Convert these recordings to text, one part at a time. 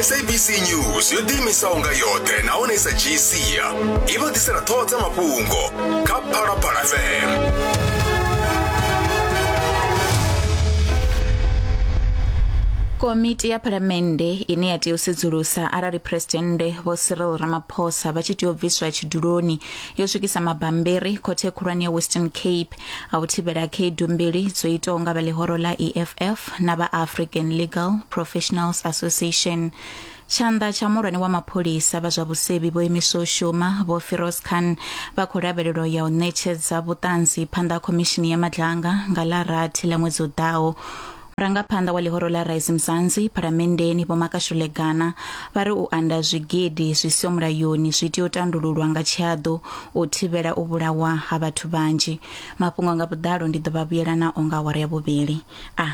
SABC News yo ḓiimisaho nga yoṱhe nahone i sa dzhii sia i vha ḓisela ṱhoho dza mafhungo kha Phalaphala FM. Komiti ya Phalamennde ine ya tea u sedzulusa arali Phresidennde Vho Cyril Ramaphosa vha tshi tea u bviswa tshiduloni yo swikisa mabambiri khothe khulwane ya Western Cape a u thivhela khaedu mbili dzo itwaho nga vha ḽihoro ḽa EFF na vha African Legal Professionals Association. Tshanḓa tsha muhulwane wa mapholisa vha zwa vhusevhi vho imiswa u shuma Vho Firoz Khan vha khou lavhelelwa ya u ṋetshedza vhuṱanzi phanḓa ha khomishini ya Madlanga nga ḽa rathi ḽa ṅwedzi u ḓaho. Murangaphanḓa wa ḽihoro ḽa Rise Mzansi phalamenndeni Vho Makashule Gana vha ri u anda zwigidi zwi siho mulayoni zwi tea u tandululwa nga tshihaḓu u thivhela u vhulawa ha vhathu vhanzhi. Mafhungo nga vhuḓalo ndi ḓo vha vhuyela nao nga awara ya vhuvhili. A.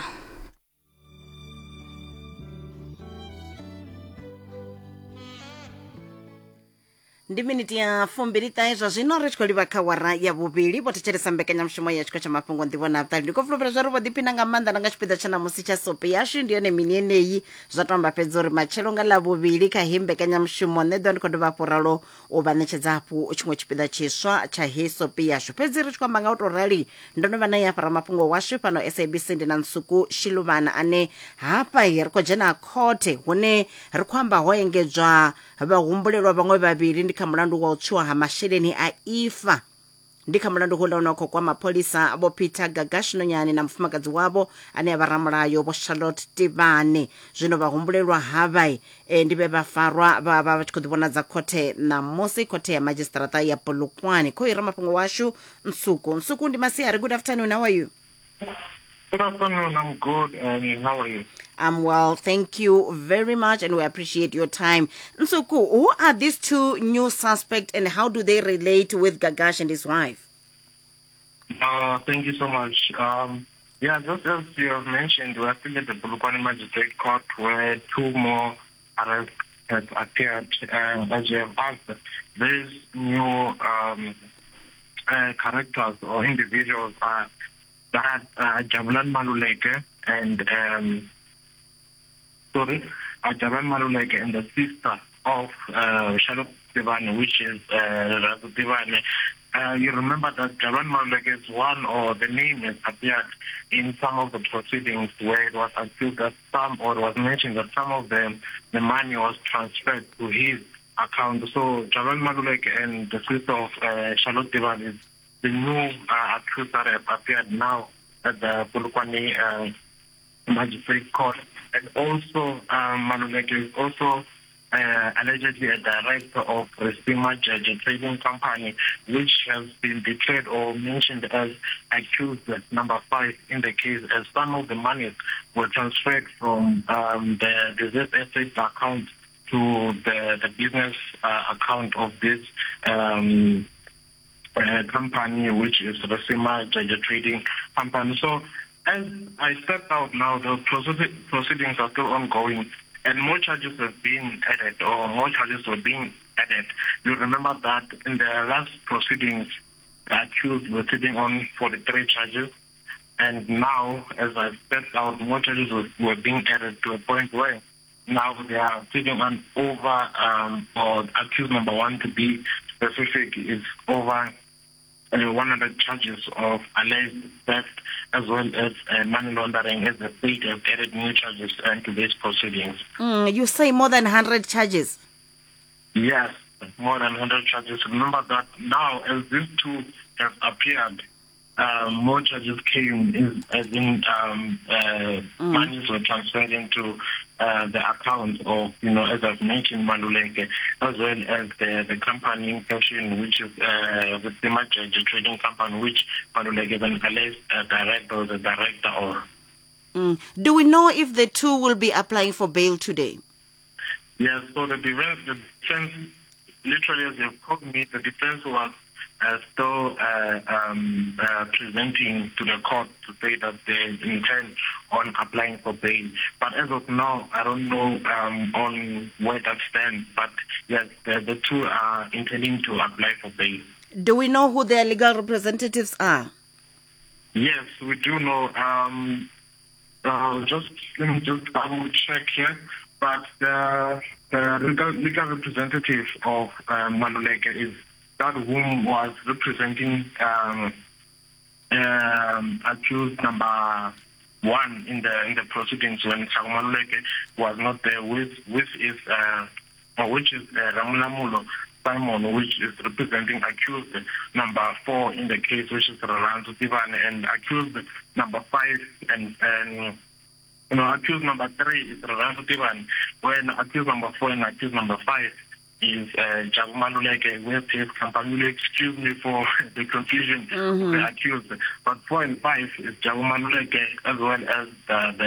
Ndi miniti ya fumbili-ṱahe zwa zwino ri tshi khou livha kha wara ya vhuvhili. Vho thetshelesa mbekanyamushumo ya tshiko tsha mafhungo nḓivho na vhuṱali. Ndi khou fulufhela zwa uri vho ḓiphina nga maanḓa na nga tshipiḓa tsha ṋamusi tsha sope yashu. Ndi yone mini yeneyi zwa to amba fhedzi uri matshelo nga ḽa vhuvhili kha heyi mbekanyamushumo nṋe ḓo ndi khou dovha hafhu ralo u vha ṋetshedza hafhu tshiṅwe tshipiḓa tshiswa tsha heyi sope yashu. Fhedzi ri tshi khou amba nga u tou rali ndo no vha na ya ramafhungo washu fhano SABC ndi na Nsuku Shiluvana ane hafha ri khou dzhena khothe hune ri khou amba ho engedzwa Vhahumbulelwa vhaṅwe vhavhili ndi kha mulandu wa u tswiwa ha masheleni a ifa. Ndi kha mulandu houḽa une wa khou kwama pholisa Vho Peter Gagash Nonyane na mufumakadzi wavho ane a vha ramulayo Vho Charlotte Tibane. Zwino vhahumbulelwa havha e, ndi vhe vha farwa vha vha vha tshi khou ḓivhonadza khothe ṋamusi, khothe ya madzhisiṱiraṱa ya Polokwane. Khoyu ramafhungo washu Nsuku. Nsuku, ndi masiari. Good afternoon, how are you? Good afternoon. I'm good. And how are you? I'm well. Thank you very much, and we appreciate your time. Nsuku, who are these two new suspects and how do they relate with Gagash and his wife? Thank you so much. Yeah, just as you have mentioned, we are still at the Polokwane Magistrate Court where two more arrests have appeared. As you have asked, these new characters or individuals are that Jabulani Maluleke and sorry, Jabulani Maluleke and the sister of Charlotte Tibane, which is Razu Tibane. You remember that Jabulani Maluleke is one, or the name has appeared in some of the proceedings where it was accused that some, or it was mentioned that some of the money was transferred to his account. So Jabulani Maluleke and the sister of Charlotte Tibane is the new accused that have appeared now at the Polokwane Magistrate Court. And also, Maluleke is also allegedly a director of Risima Jeje Trading Company, which has been declared or mentioned as accused number 5 in the case, as some of the monies were transferred from the diseased estate account to the business account of this company, which is Risima Jeje Trading Company. So as I stepped out now, the proceedings are still ongoing, and more charges have been added, or more charges were being added. You remember that in the last proceedings, the accused were sitting on 43 charges, and now, as I stepped out, more charges were being added to a point where now they are sitting on over, or accused number 1 to be specific, is over 100 charges of alleged theft as well as money laundering, as the state has added new charges to these proceedings. You say more than 100 charges? Yes, more than 100 charges. Remember that now, as these two have appeared, more charges came, as in monies were transferred into the account of, as I've mentioned, Maluleke, as well as the company in question, which is the Risima Jeje Trading Company, which Maluleke is an alleged director or the director of. Do we know if the two will be applying for bail today? Yes, so the defense, literally as they've called me, the defense was still presenting to the court to say that they intend on applying for bail. But as of now, I don't know on where that stands. But yes, the two are intending to apply for bail. Do we know who their legal representatives are? Yes, we do know. Just let me just double check here. But the legal representative of Maluleke is that whom was representing accused number 1 in the proceedings when Ntsako Maluleke was not there, which is Ramulamullo Simon, which is representing accused number 4 in the case, which is Rirhandzu Tivane, and accused number 5 and accused number 3 is Rirhandzu Tivane, when accused number 4 and accused number 5 is Jabu Maluleke with his company. Will excuse me for the confusion of the accused, but 4 and 5 is Jabu Maluleke as well as the